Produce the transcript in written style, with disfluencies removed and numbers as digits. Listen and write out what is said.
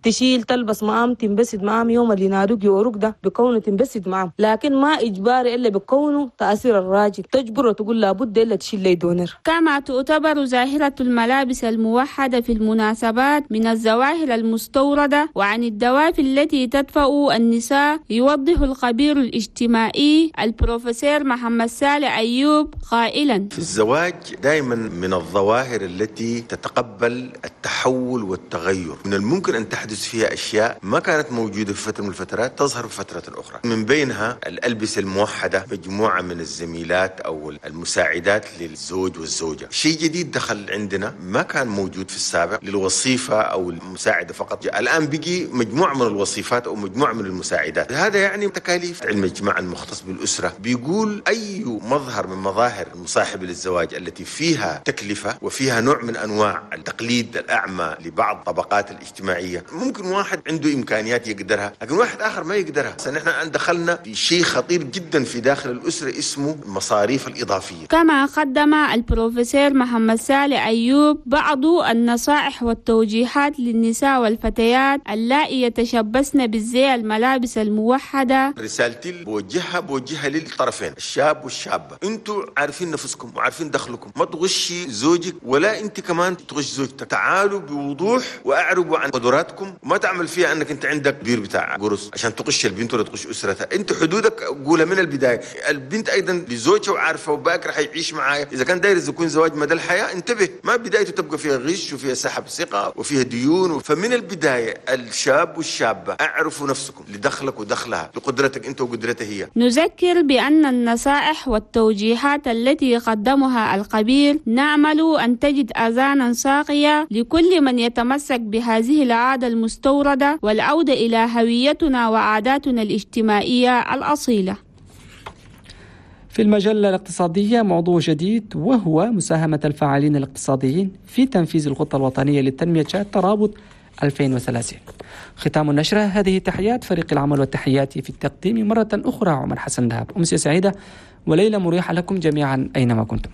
تشيل تلبس معام، تنبسط معام. يوم اللي ينادوك يوروك ده بكونه تنبسط معام، لكن ما إجباري إلا بكونه تأثير الراجل تجبره تقول لابد إلا تشيل لي دونر. كما تعتبر ظاهرة الملابس الموحدة في المناسبات من الظواهر المستوردة، وعن الدوافع التي تدفع النساء يوضح الخبير الاجتماعي البروفيسور محمد صالح أيوب قائلا: في الزواج دائما من الظواهر التي تتقبل التحول والتغير، من الممكن أن تحدث فيها أشياء ما كانت موجودة في فترة من الفترات تظهر في فترة أخرى، من بينها الألبسة الموحدة، مجموعة من الزميلات أو المساعدات للزوج والزوجة، شيء جديد دخل عندنا ما كان موجود في السابق للوصيفة أو المساعدة فقط، الآن بقي مجموعة من الوصيفات أو مجموعة من المساعدات. هذا يعني تكاليف. علم الاجتماع المختص بالأسرة بيقول أي مظهر من مظاهر المصاحبة للزواج التي فيها تكلفة وفيها نوع من أنواع التقليد الأعمى لبعض الطبقات الاجتماعية، ممكن واحد عنده إمكانيات يقدرها لكن واحد آخر ما يقدرها. نحن دخلنا في شيء خطير جدا في داخل الأسرة اسمه المصاريف الإضافية. كما قدم البروفيسور محمد صالح أيوب بعض النصائح والتوجيهات للنساء والفتيات اللائي يتشبثن بالزي الملابس الموحدة. رسالتي بوجهها للطرفين الشاب والشابة، انتوا عارفين نفسكم وعارفين دخلكم، ما تغشي زوجك ولا انت كمان تغش زوجتك، تعالوا بوضوح واعربوا عن قدراتكم، وما تعمل فيها انك انت عندك بير بتاع قرص عشان تغش البنت ولا تغش اسرتها، انت حدودك قولها من البداية. البنت ايضا لزوجها وعارفه وباكر حيعيش معايا، اذا كان داير يكون زواج مدى الحياة انتبه، ما بدايته تبقى فيها غش وفيها سحب ثقة وفيها ديون. فمن البداية الشاب والشابة اعرفوا نفسكم لدخلك ودخلها، لقدرتك انت وقدرتها هي. نذكر بأن النصائح والتوجيهات التي قدمها الخبير نأمل أن تجد أذانا صاغية لكل من يتمسك بهذه العادة المستوردة والعودة إلى هويتنا وعاداتنا الاجتماعية الأصيلة. في المجلة الاقتصادية موضوع جديد، وهو مساهمة الفاعلين الاقتصاديين في تنفيذ الخطة الوطنية للتنمية ترابط 2030. ختام النشرة، هذه تحيات فريق العمل والتحياتي في التقديم مرة أخرى عمر حسن دهب. أمسية سعيدة وليلة مريحة لكم جميعا أينما كنتم.